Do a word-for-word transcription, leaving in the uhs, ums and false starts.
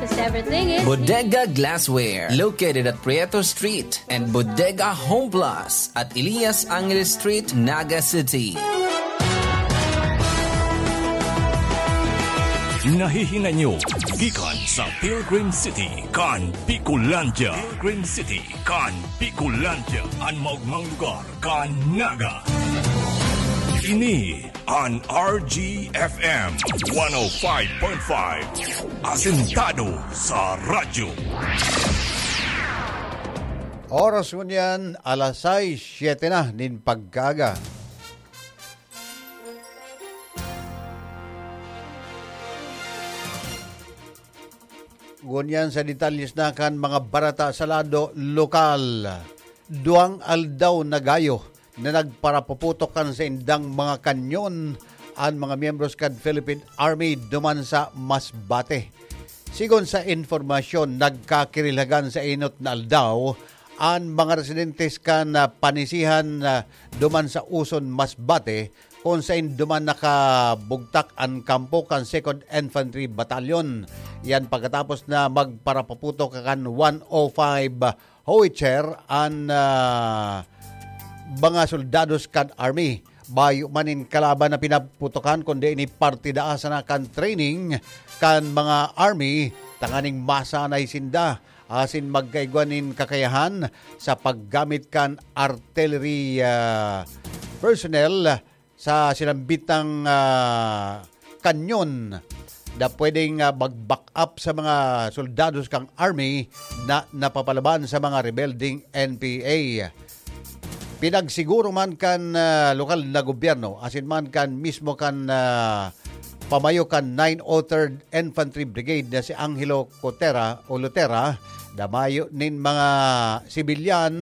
'Cause everything is Bodega Glassware, located at Prieto Street, and Bodega Home Plus at Elias Angeles Street, Naga City. Nahihinay nyo gikan sa Pilgrim City kan Bicolandia. Pilgrim City kan Bicolandia, an maogmang lugar kan Naga. Ini an R G F M one oh five point five, asentado sa radyo. Oras ngunyan, alas sais, siyete na nin pagkaaga. Ngunyan sa detalles na kan mga barata sa lado lokal. Duwang aldaw na gayo na nagparapuputok kan saindang mga kanyon an mga miyembros kan Philippine Army duman sa Masbate. Sigon sa impormasyon, nagkakirilhagan sa inot na aldaw an mga residentes kan, ah, Panisihan, ah, duman sa Uson, Masbate, kun saen duman nakabugtak an kampo kan Second Infantry Battalion. Yan pagkatapos na magparapaputok kan one oh five Howitzer an, ah, mga soldados kan army. Bayo man nin kalaban na pinaputokan, kundi ini parte daa sana kan training kan mga army tanganing masanay sinda asin magkaigwa nin kakayahan sa paggamit kan artillery, ah, personnel sa sinambitang, ah, kanyon na pwedeng, ah, mag-back up sa mga soldados kan army na napapalaban sa mga rebeldeng N P A. Pinagsiguro man kan, ah, lokal na gobyerno asin man kan mismo kan, ah, pamayo kan nine oh third Infantry Brigade na si Angelo Cotera o Lutera, na mayo nin mga sibilyan